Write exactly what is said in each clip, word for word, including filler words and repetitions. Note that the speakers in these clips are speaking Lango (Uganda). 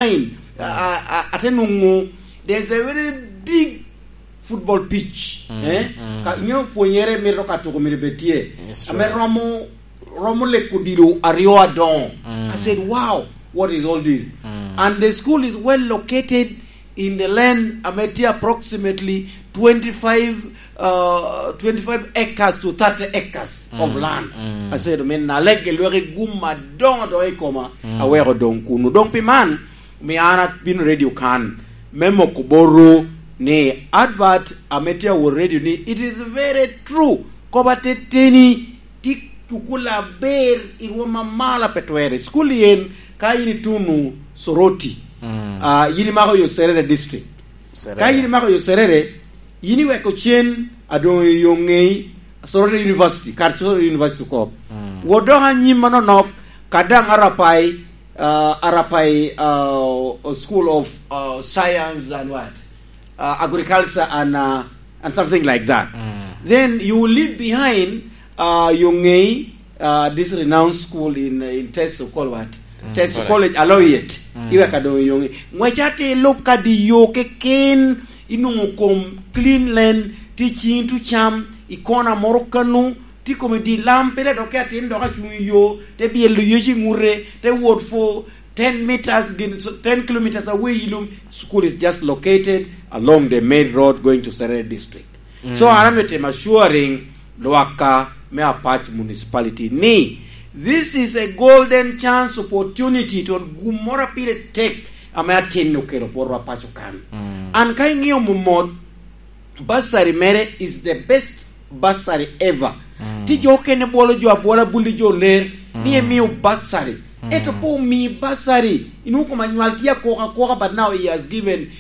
Line. A, a, a, ate nwoŋo, there's a very big football pitch. Mm, eh? Mm. Ka, ingeyo pwonyere mito ka tuko mito bed tye. It's true. Ame romo, romo leko dilo aryo adoŋo. Mm. I said, "Wow, what is all this?" Mm. And the school is well located in the land ame tye approximately twenty-five, uh, twenty-five acres to thirty acres of, mm, land. Mm. I said, "Min na lege lweki gum adoŋo adoŋo i koma, mm, aweko doŋ kunu." Doŋ pi man, omio an abino redio kan me moko botwu ni advert ame tye awot redio ni, it is very true. Kop ateteni, tye cukul aber i rwom amalo a pe twerre. Cukul yen, ka yin ituno Soroti, mm, ah, yin imako yo Serere district. Serere. Ka yin imako yo Serere, yin iweko cen, adoŋo yo ŋei, Soroti University, kar Soroti University kop. Mm. Wot dok anyim manonok, ka daŋ Arapai, uh, Arapai, uh, School of, uh, Science and what? Uh, agriculture and, uh, and something like that. Mm. Then you will leave behind, uh, yo ŋei, uh, this renowned school in, in Teso called what? Mm. Teso College. College, Aloyet. Mm. Iweka doŋ yo ŋei. Ŋwec ate ilub kadi yo keken, inwoŋo kom clean land, tye ciŋi tucam, i kona moro kanu, tye kome di lam, pire dok ke atin dok acuŋ i yo, te byelo yec i ŋute, te wot for ten meters, gin, so, ten kilometers away, you know, school is just located along the main road going to Serere district. Mm. So, an amito timo assuring lwakka me Apac Municipality ni, this is a golden chance opportunity to gum moro a pire tek ame atin okelo botwa paco kan. Mm. An ka iŋeo momot, bursary mere is the best bursary ever. Mm. Tye jo okene bwolo jo abwola, bulli jo ler, ni, mm, emio bursary. Mm. Ento pe omii bursary, inwoŋo kom anywal tye akwoka akwoka, but now he has given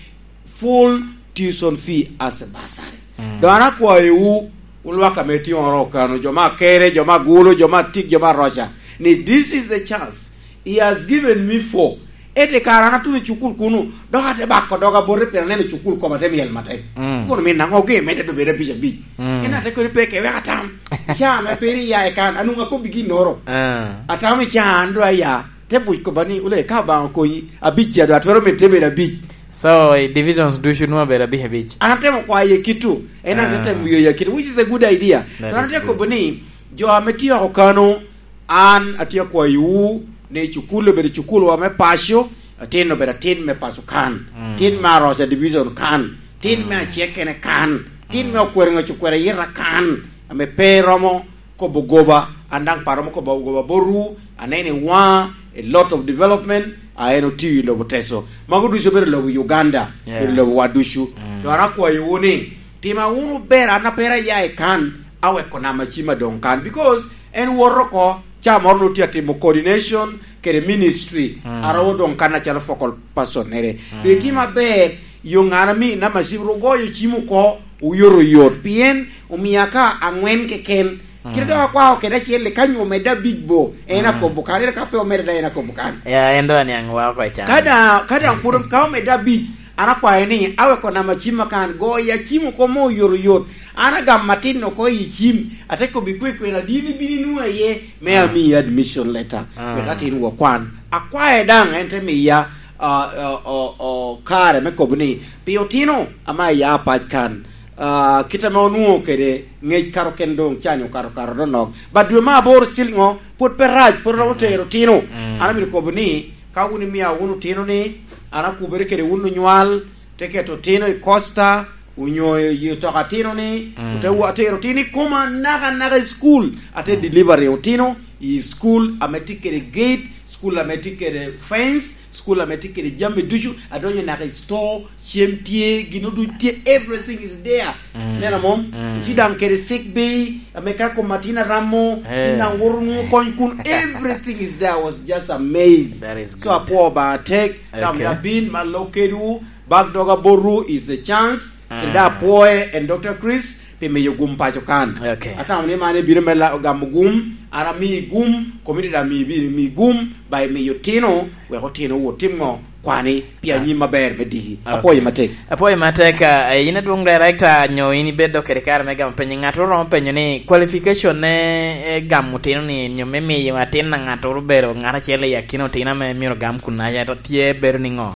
full tuition fee as a bursary. Mm. Doŋ an akwayowu, wun lwak ame tye oro kano, jo ma Akere, jo ma Gulu, jo ma Atik, jo ma Aroca, ni this is the chance he has given me for. Ete kara an atuno i cukul kunu, dok ate bako doga bote pien aneno cukul koma te myel matek. Mm. Kono min aŋo ge mete dobedo abic abic? Mm. En ate koni pe ke wek atam. Ca ame peri ya i kan, anwoŋo akobbi ginnoro. Ah. Atamo i ca an do aya, te buc kobba ni, "Ole, ka Obaŋa okonyi, abic ca do atwero medo te bedo abic." So, i divisions ducu nwoŋo abedo abic abic. An atemo kwaye kitu, en an, ah, atemo wiyo ya kitu, which is a good idea. That is good. An atye kobo ni, jo ame tye oko kano, an atye akwayowu ni cukul obedo cukulwa me paco, atin obedo atin me paco kan, mm, tin me Aroca division kan, tin me, mm, Acek kene kan, tin me, mm, Okwero Ŋec Okwero Ayita kan, ame pe romo kobo goba, an daŋ pe aromo kobo goba botwu, aneno i waŋa a lot of development, a en otio i lobo Teso. Mago ducu obedo lobo Uganda, yeah, obedo lobo wa ducu. Mm. Dok an akwayowu ni, tima wunu ber, an a pe aya i kan, aweko nama cim adoŋ kan, because en woto oko, ca moro nwoŋo tye atimo coordination kede ministry, mm, a romo doŋ kan acalo focal person-nere. Mm. Pe itimo aber, yo ŋana mi nama cim ru goyo cim oko, oyotoyot, pien omia ka aŋwen keken. Kite, mm, dok akwao kede acel-li, ka nyo omedde abic bo, en, mm, akobo kan, ere ka pe omedde daŋ en akobo kan. Ya, en doŋ aniaŋ wa oko i can. Ka daŋ, ka daŋ pwod ka omedde abic, an akwayo ni, aweko nama cim akan, goyo acim oko mo oyotoyot. An agamo atin oko i cim, ate kobbi kwe kwe na dini bino inwoŋo aye, me, ah, ami admission letter, ah, wek atin wakwan. Akwaye daŋ, en te miya, ah, ah, ah, ah, kare me kobo ni, pi otino ame aya pac kan, ah, kit ame onwoŋo kede ŋec kato ken doŋ canyo okato, okato dok nok. But dwe me aboro ciliŋo, pwod pe rac, pwod romo tero otino. Mm. An amito kobo ni, ka wun imia wunu otino ni, an akubere kede wun onywal, te keto otino i coaster, onyo i otoka otino ni, mm, ote wa-, tero otino i koma naka naka i school, ate, mm, delivery otino i school ame tye kede gate, school ame tye kede fence, school ame tye kede jami ducu, adonyo naka i store, cem tye, gino ducu tye, everything is there. Mm. Neno mom? Mm. Tye daŋ kede sick bay, ame ka kom atin aramo, eh, tin daŋ woto nwoŋo kony kun, everything is there. I was just amazed. That is good. So apwoo Obaŋa tek, ka, okay, omio abin ma lok kedwu, bak doga botwu is a chance. Mm. Kede apwoye en Doctor Chris, pi miyo gum paco kan. Okay. Atamo ni man ibino me la-, gamo gum, an amii gum, community amii, bino mii gum, ba imiyo otino, wek otino wot tim ŋo? Kwani pi, ah, anyim aber me diki. Okay. Apwoyo matek. Apwoyo matek, ah, in adwoŋ director, nyo in ibedo kede kare me gamo penyo, ŋat oromo penyo ni qualification ne, eh, gamo otino ni, nyo me miyo atin a ŋat oro bedo ŋat acel i akina otino ame myero gam kun aye to tye bedo ni ŋo?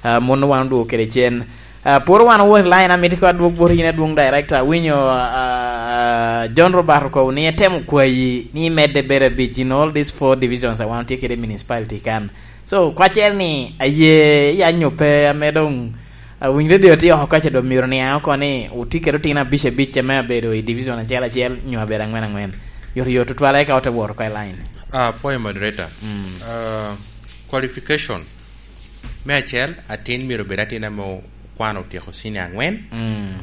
Ah, mon wan odwogo kede cen. Ah, pwod wan owo i line, amito ko adwog bot yin adwoŋ director. Awinyo, ah, ah, John Robert okobo ni etemo kwayi ni imedde bedo abic in all these four divisions a wan otye kede i municipality kan. So, kwaccere ni aye yanyo pe ame doŋ, ah, winyo radio tye oko kaca doŋ myero niaŋ oko ni otye kede otino abic abic ame abedo i division acel acel nyo abedo aŋwen aŋwen. Yot yot tutwal eka ote wot oko i line. Ah, apwoyo moderator. Mm. Ah, qualification. Me acel, atin myero obed atin ame okwano otyeko cinia aŋwen, mm,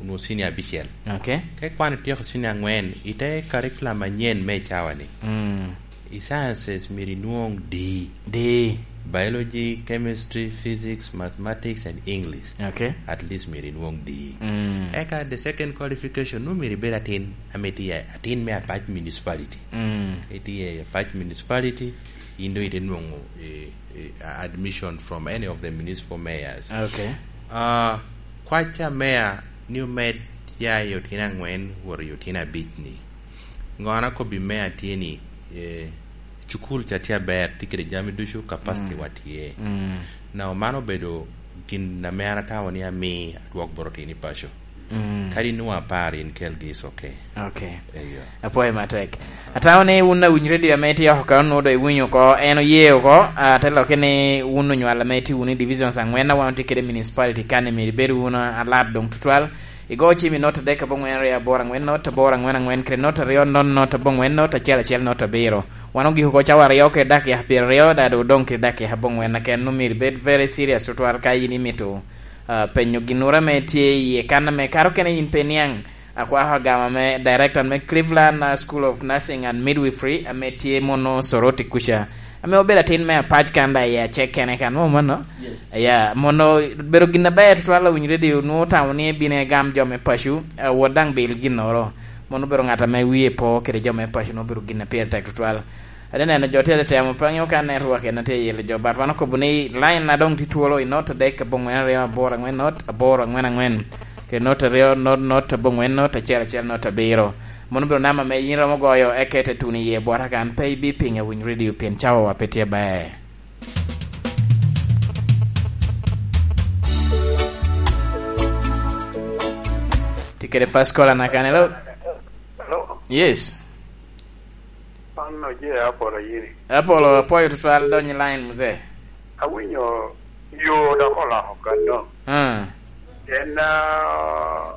onwoŋo cinia abicel. Ok. Ka ikwano ityeko cinia aŋwen, i te curriculum anyen me i cawa-ni, mm, i sciences myero inwoŋ D. D. Biology, chemistry, physics, mathematics and English. Ok. At least myero inwoŋ D. Mm. Eka the second qualification, nwoŋo myero ibed atin ame tye atin me Apac Municipality. Mm. Itye i Apac Municipality, in doŋ ite nwoŋo, eh, eh, admission from any of the municipal mayors. Okay. Ah, kwac a mayor ni omed ya i otino aŋwen wot i otino abic-ni. Ŋo an akobbi mayor tye ni, eh, cukul ca tye aber, tye kede jami ducu, capacity, mm, wa tye. Mm. Now, man obedo gin ame an atamo ni ami adwok bot otino i paco. Mm. Kadi nwoŋo apar in kelgi, is okay. Okay. Eyo. Apwoyo matek. Atamo ni wun awiny radio ame itye oko ka onwoŋo doŋ iwinyo oko, en oye oko, ah, te lokke ni wun onywal ame itye wunu i divisions aŋwen a wan otye kede i municipality kan-ni, myero ibed wunu alat doŋ tutwal. Igo cim i not adek aboŋwen aryo aboro aŋwen not aboro aŋwen aŋwen kede not aryo not not aboŋwen not acel acel not abiro. Wan ogiko oko cawa aryo kede dakika pyeraryo, dado odoŋ kede dakika aboŋwen keken, nwoŋo myero ibed very serious tutwal ka in imito ah, penyo ginnoro ame tye iye kan ame kato kene in pe iniaŋ. Akwako agama me director me Cleveland, ah, School of Nursing and Midwifery ame tye mono Soroti kuca, ame obedo atin me Apac kan da i acek kene kan, mo mano? Yes. Ya, mono bedo gin aber tutwal awiny radio, nwoŋo otamo ni ebino egam jo me paco, ah, wot daŋ bil ginnoro. Mono obedo ŋat ame wie po kede jo me paco, nwoŋo obedo gin a pire tek tutwal. Ate neno jo tye ate temo, pe aŋeo ka network en tye yelo jo, but wan okobo ni line na doŋ tye twolo i not adek aboŋwen aryo aboro aŋwen not aboro aŋwen aŋwen, kede not aryo not not aboŋwen not acel acel not abiro. Mono obedo namba ame yin romo goyo, eka ite tuno iye bwota kan, pe ibipiŋo awiny radio pien cawawa pe tye ber. Tye kede first caller na kan, hello? Hello? Yes. An oje Apolo Ayiri. Apolo, apwoyo tutwal, dony i line, muzee. Awinyo yo dok oloko kanno. Ah. En, ah,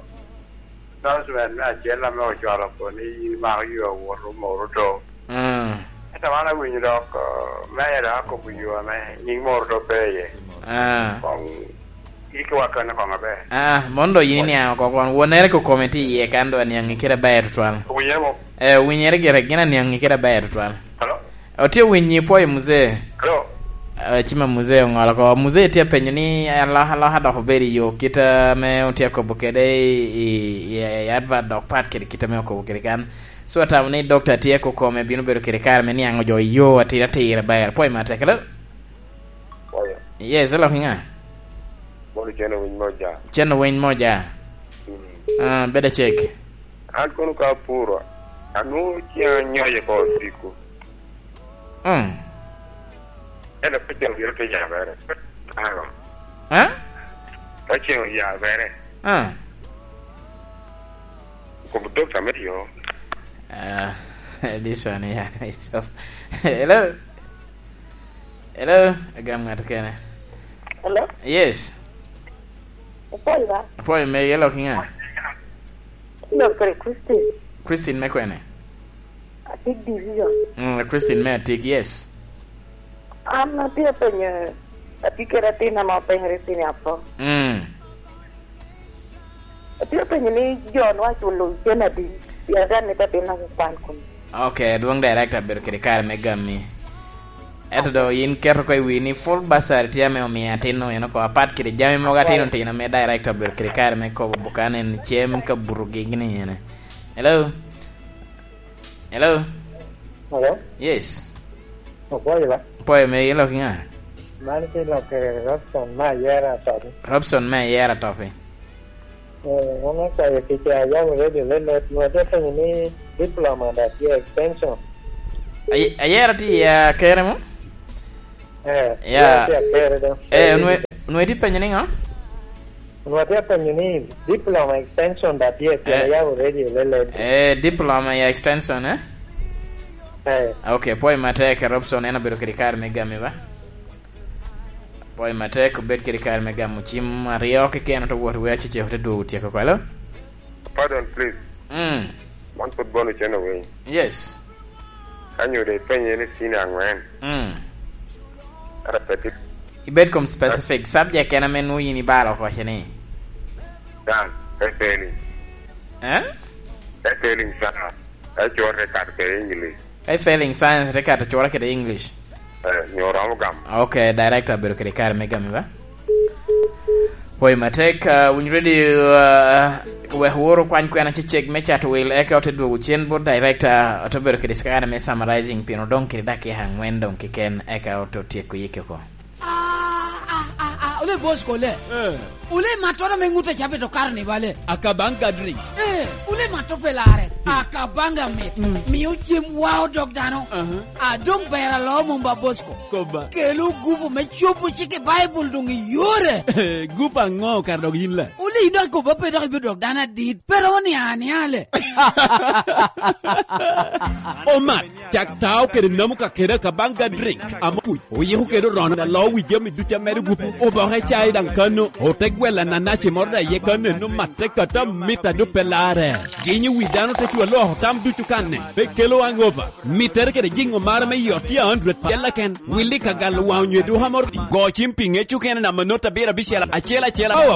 announcement me acel ame ocwalo oko ni in mako yo awot Moroto. Ah. Ento wan awinyo dok, ah, meya dok akobo yo ame nying Moroto pe iye. Ah. Koŋ Yikki wa kene koŋ aber. Ah, mondo yin iniaŋ oko kon. Wonere ko kome tye iye kan do aniaŋ i kite aber tutwal. Owinyere mo? Eh, owinyere gire, gin aniaŋ i kite aber tutwal. Hello? Otye owinyi, pwoyo muzee. Hello? Eh, cima muzee oŋolo oko. Muzee tye apenyo ni aloka, aloka dok obedo i yo kit ame otye akobo kede i, i, i, i advert dok pat kede kit ame okobo kede kan. So atamo ni dokta tye ko kome bino bedo kede kare me niaŋ ojo i yo atir atir aber. Pwoyo matek, hello? Pwoyo. Yes, elok i ŋa? Mono cen owiny moja. Cen owiny moja. Mm. Ah, bedo cek. An kono ka apuro, anwoŋo ciŋ anyoye ko odiko. Mm. Ento ka ciŋ obiro te yabere. Ano? Ah? Ka ciŋ oyabere. Ah. Kobo dokta me yo. Ah, this one, yeah, is of, hello? Hello, agam ŋat kene. Hello? Yes. Apwoyo ba? Apwoyo, me yelo ki ŋa? Doctor Christine. Christine me kwene? Atik Division. Mm, Christine me Atik, yes. An atye apenyo, atye kede atin ame openyere i senior four. Mm. Atye apenyo ni jo-nu aculo cen adi? Pien atye amito atin ame kwan kome. Ok, dwong director bedo kede kare me gami. Ento do yin keto ko i wi ni full bursary tye ame omiyo atin eno oko, apat kede jami mogo atino tino ame director bedo kede kare me kobo bukan en cem ka buto gigi ni ene. Hello? Hello? Hello? Yes. Opwoyo ba? Opwoyo, me ilok ŋa? Man ki lok, eh, Robson me Ayera Atopi. Robson me Ayera Atopi. Eh, an akwayo kica, ayabo radio me Network, atye apenyo ni diploma da tye extension? Ay-, Ayera tye i Akere mo? Eh, ya, tye i Akere do. Eh, onwe-, Onwongo itye penyo niŋo? Onwongo atye apenyo ni diploma extension da tye, pien Eh. ayabo radio leled. Eh, diploma ya extension, eh? Eh. Ok, pwoyo matek, Robson en obedo kede kare me gami ba? Pwoyo matek, obed kede kare me gamo cim aryo keken, ote wot i wer, Acecek ote dwogo tyeko kwalo. Pardon, please. Mm. Man pwod bono cen owiny. Yes. Ka nyo de ipenye ni senior angwen. Mm. Ara petit. Ibed kom specific subject en ame nwoŋo yin ibalo oko ce ni. Dan, e failing. Eh? E failing sana. E cure kat ke English. Ka i failing science, te kato cura kede English. Eh, nyo romo gamo. Ok, director obedo kede kare me gami ba? Pwoyo matek, uh, Winy Radio, uh, wek woro kwany kwena Acecek me cato wil, eka ote dwogo cen bot director, ote bedo kede kare me summarizing, pien odoŋ kede dakika angwen doŋ keken, eka ote tyeko yike oko. Ah, ah, ah, ah, ole boss kole. Eh. Ole matoro me ŋut a cabe to karni bale. Akabanga drink. Eh, ole mato pelare. Hmm. Akabanga mit. Hmm. Mio cem wa odok dano. Aha. Adong ber alo mumba boss ko. Koba. Kelo gupu me cobo cik i Bible dong i yore. Eh, gupu aŋo kar dok yin la? Ole ino koba pe dok ibi dok dano adit. Pero ni ania le. Omat. Cak tao kede namo ka kede Akabanga drink. Amo kuc. Oyiko kede orono alo wi jami ducu a medo gupu. Oboke cai daŋ kano. Ote gwelo ananaci moro da iye kano eno matte kata mita do pe larre. Ginyo wi dano te cwa loko tam ducu kanne. Pe kelo hangover. Mittere kede jiŋo mara me yot tye a hundred pyella ken. Willi ka galo waŋ onyo eduka moro. Go cim pi ŋec okene namba not abiro abicel acel acel.